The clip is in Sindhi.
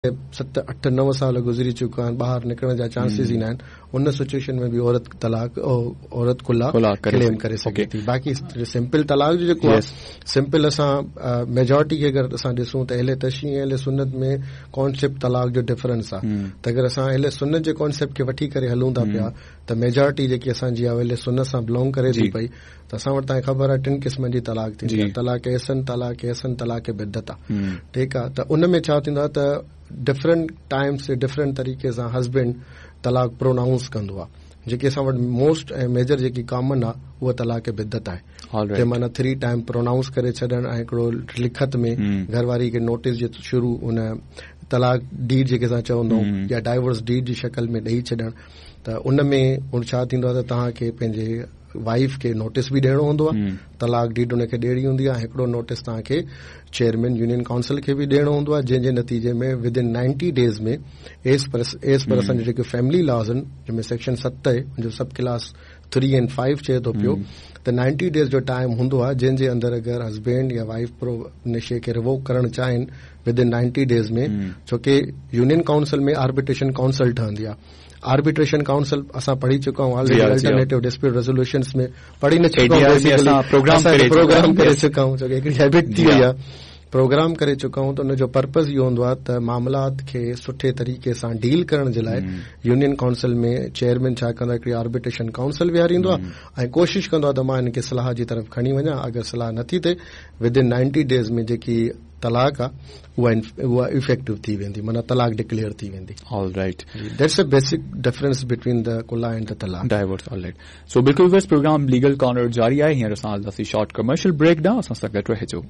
7، 8، 9 سال گذري چڪا آهن ٻاهر نڪرڻ جا چانسز ئي ناهن ان سچويشن ۾ به عورت طلاق عورت خلع ڪليم ڪري سگهي ٿي باقي سمپل طلاق جو جيڪو آهي سمپل اسان ميجارٽي کي اگر اسان ڏسون ته اهل تشيع ۽ اهل سنت ۾ ڪانسيپٽ طلاق جو ڊفرنس آهي ته اگر اسان اهل سنت جي ڪانسيپٽ کي وٺي ڪري هلون ٿا پيا ته ميجارٽي جيڪي اسان جي آهي اهل سنت سان بلونگ ڪري ٿي پئي ته اسان وٽ توهان کي خبر آهي ٽن قسمن جي طلاق ٿيندي آهي طلاق احسن طلاق احسن طلاق بدعت آهي ٺيڪ آهي ته ان ۾ ڇا ٿيندو آهي ته ڊفرنٽ ٽائمس تي ڊفرنٽ طريقي سان هسبينڊ طلاق پرونائونس ڪندو آهي جيڪي اسان وٽ موسٽ ۽ ميجر جيڪي ڪامن آهي اها طلاق بدعت آهي ته معنيٰ ٿري ٽائم پرونائونس ڪري ڇڏڻ ۽ هڪڙو لکت ۾ گهر واري کي نوٽيس جي شروع ان طلاق ڊيڊ جيڪي اسان چوندا آهيون يا ڊائيورس ڊيڊ جي شڪل ۾ ڏئي ڇڏڻ ته ان ۾ ڇا ٿيندو آهي ته توهان کي پنهنجي وائيف کي نوٽيس به ڏيڻو هوندو آهي طلاق ڊيڊ ان کي ڏيڻي هوندي آهي هڪڙو نوٽيس توهان کي چيئرمين يونين ڪائونسل کي به ڏيڻو هوندو آهي جنهن جي نتيجي ۾ with in 90 days ۾ as per as per اسان جا جيڪي فيملي لاز آهن جنهن ۾ سيڪشن 7 آهي ان جو سب ڪلاس 3 ۽ 5 چئي ٿو پيو ته 90 ڊيز جو ٽائيم هوندو آهي جنهن جي اندر اگر هسبينڊ يا وائيف پرو ان شي کي ريووڪ ڪرڻ چاهين ود ان 90 ڊيز ۾ ڇو ڪي يونين ڪائونسل ۾ آربيٽريشن ڪائونسل ٺهندي آهي آربيٽريشن ڪائونسل اسان پڙهي چڪا آهيون آلريڊي الٽرنيٽو ڊسپيوٽ ريزوليوشنز ۾ پڙهي نه چڪا آهيون بيسيڪلي پروگرام ڪري چڪا آهيون ڇو ڪي هڪڙي هيبٽ ٿي وئي آهي پروگرام ڪري چڪا آهيون ته ان جو پرپز اهو هوندو آهي ته معاملات کي سٺي طريقي سان ڊيل ڪرڻ جي لاء يونين ڪائونسل ۾ چيئرمين ڇا ڪندو آهي هڪڙي آربيٽريشن ڪائونسل ويهاريندو آهي ۽ ڪوشش ڪندو آهي ته مان هن کي صلاح جي طرف کڻي وڃان اگر صلاح نٿي ٿئي ود ان 90 ڊيز ۾ جيڪي طلاق آ اها اها افيڪٽو ٿي ويندي معنيٰ طلاق ڊڪليئر ٿي ويندي. All right. That's a basic difference between the خلع and the talaq. Divorce all right. سو بلڪل ويورز پروگرام ليگل ڪارنر جاري آهي هينئر اسان هلنداسين شارٽ ڪمرشل بريڪ ڏانهن اسان سان گڏ رهجو.